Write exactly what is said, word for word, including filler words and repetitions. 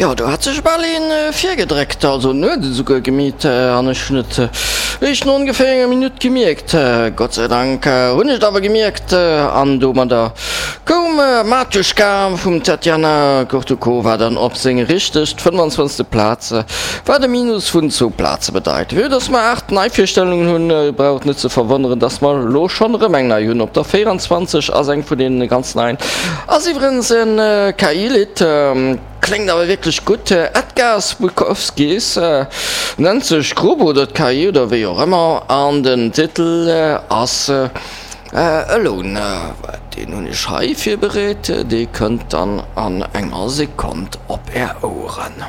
Jo, do hat sech bal een virgedréckt, also en huet et esouguer gemeet an ech hunn et eréischt no ongeféier enger Minutt gemierkt. Gott sei Dank hunn ech et awer gemierkt an domadder koum Matuschka vum Tatiana Gortukova dann op seng richteg fënnefanzwanzegste Plaz, wat e Minus vun zwou Plaze bedeit. Vue dass mer aacht Neivirstellungen hunn, brauch et net ze verwonneren, dass mer elo schonn erëm eng nei hunn. Op der véieranzwanzeg ass eng vun deene ganz neien, ass iwwerens en K I-Lidd. Kléngt awer wierklech gutt. Edgars Bukowskis nennt sech d'Grupp oder d'K I oder wéi och ëmmer an den Titel ass Alone. Deen hunn ech hei virbereet, dee kënnt dann an enger Sekonn op är Oueren.